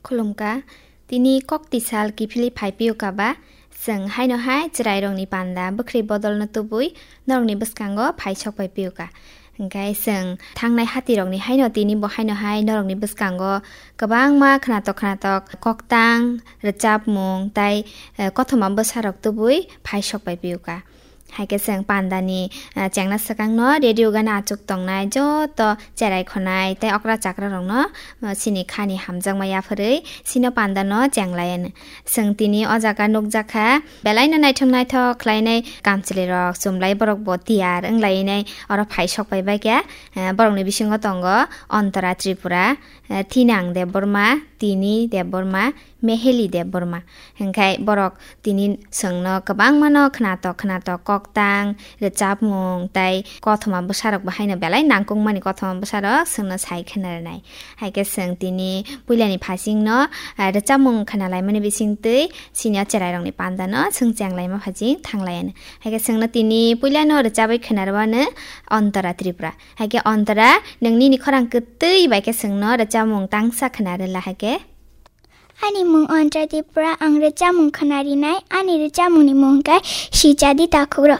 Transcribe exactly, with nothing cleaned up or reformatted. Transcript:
Khulumkha, tini kok tisal kiphilwi phai piyokha ba, chwng haino hai chwrairokni panda bwkhri bodolno tubui norokni bwskango phai sok pai piyokha. Hwnkhe chwng thangnai hatirokni haino tini bo haino hai norokni bwskango kwbangma khwnatok khwnatok koktang, rwchapmung tei, eh, kothoma bwsarok tubui phai sok pai piyokha. Hai khe chwng pandani, ah, chengna swkangno radio gana achuk tongnai joto cherai khonai tei okra chakra rokno, ah, chini khani hamjakma yapharwi chino pandano chenglaino. Chwng tini o jaga nukjakha, belaino naithok naithok khlainai kamchwlwi rok chumlai borok bo tiyar wnglainai oro phai sok pai baikha, ah, borokni bisingo tongo Antara Tripura, eh, Thinang Debbarma, Tini Debbarma, Meheli Debbarma. Hwnkhe borok tini chwngno kwbangmano khwnatok khwnatok koktang, rwchapmung tei kothoma bwsarok bo haino belai nangkukmani kothoma bwsarok chwngno sai khwna rwnai. Hai khe chwng tini puilani phasingno, eh, rwchapmung khwnalaimani bisingtwi chini o cherairokni pandano chwng chenglaima phasing thanglaiano. Hai khe chwngno tini puilano rwchabwi khwna rwmano Antara Tripura. Hai khe Antara, nwng nini khorang kwtwi bai khe chwngno rwchapmung tangsa khwna rwla hai khe. Ani mung Antara Tripura, ang rwchapmung khwna rinai, ani rwchapmungni mung khe Sichadi Takhukro.